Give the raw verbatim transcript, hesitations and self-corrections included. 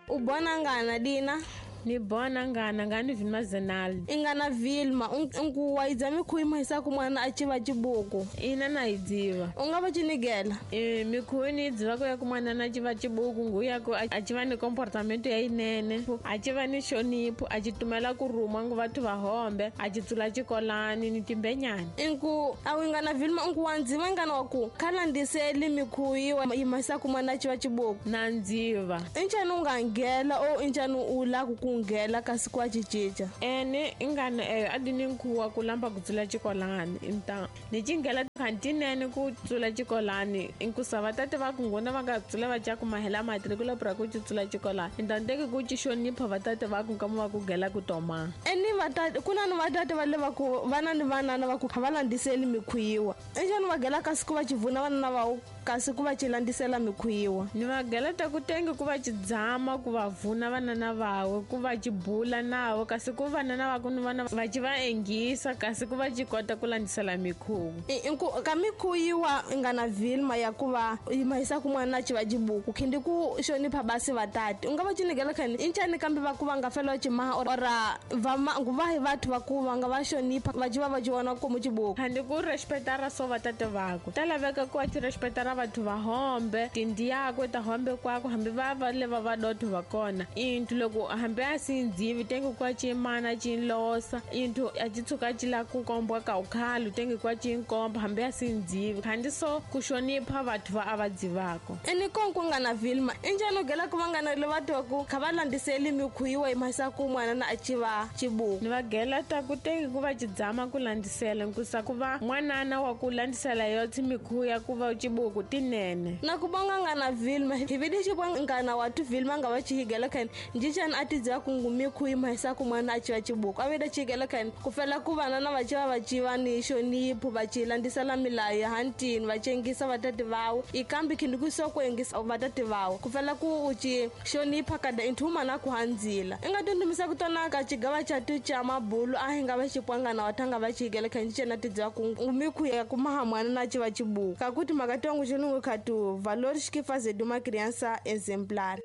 U bona ngana dina? Ni bona ngana ngani Vilma Zenal. Ingana Vilma ungu waidza mikhuyi mahisa ku mwana a chiva chibuku. Ina na idziva. U nga va chinigela? Eh mikhuyi ni idziva ku ya ku mwana na chiva chibuku nguya ku a chiva ni comportamento ya inene. A chiva ni xonipho, a chitumela ku ruma ngu vathu va hombe, a chitsula chikolani ni timbenyana. Inku a ingana Vilma ungu wandziva ngana wa ku khala ndiseli mikhuyi wa yimahisa ku mwana a chiva chibuku. Na ndziva. Inchani u nga ngela o inchani u la ku ngela kasi kwa chichicha. Ene ingana eh adini nkhuwa ku lamba ku tsula chikolani inta ni chingela kantinene ku tsula chikolani inkusa vatate va ku ngona va nga tsula va cha ku mahela matrikula pra ku tsula chikolani inta ndeke ku chishonipha vatate va ku kama va ku gela ku toma. Ene vatate kuna ni vatate va le va ku vana ni vanana va ku va landiseli mikhuyiwa. Enjani va gela kasi ku va chivuna vana va kasi ku va chilandisela mikhuyiwa. Ni va gela ta ku tenge ku va chidzama ku va vuna vanana vawe ku va chibula nawo kasi ku vanana va ku ni vana va chi va engisa kasi ku va chikota ku landisela mikhuwu. Inku ka mikhuyiwa ingana Vilma ya ku va yimahisa ku mwana a chiva chibuku khindi ku xonipha basi vatate. U nga va chinigela khani inchani kambe va ku va nga fela chimaha ora va nguva hi vathu va ku va nga va xonipha va chiva va chiwana ku mu chibuku. Khandi ku respectara so vatate vako. Ta laveka ku a chi respectara vathu va hombe tindi yakwe ta hombe kwako hambi va va le va va dotho va kona. Intu loko hambi a sindzivi tenge kwa chimana chinlosa intu a chitsuka chila ku kombwa ka ukhalu tenge kwa chinkomba hambi a sindzivi khandi so ku xonipha vathu va a va dzivako. Ene konko ngana Vilma injani gela ku vangana le vathu va ku kha va landiseli mikhuyiwa yimahisa ku mwana na a chiva chibuku. Ni va gela ta ku tenge ku va chidzama ku landisela nkusa ku va mwanana wa ku landisela yotsi mikhuya ku va chibuku tinene. Na ku bonga ngana Vilma hi vidi xibwa ngana wa tu Vilma nga va chihigela khani njichan a tidziva ku ngumikhuyi mahisa ku mwana a chiva chibuku a veda chihigela khani ku fela ku vana na va chiva va chiva ni xonipho va chilandisela milayo ya hantini va chengisa vatate vawo ikambi khindi ku so ku engisa vatate vawo ku fela ku u chi xonipha kada inthuma na ku handzila i nga tundumisa ku tona ka chigava cha tu cha mabulu a hi nga va xipwangana wa thanga va chihigela khani njichan a tidziva ku ngumikhuyi ya ku maha mwana na chiva chibuku kakuti makatongo xilungu khatu valores que fazer de uma criança exemplar.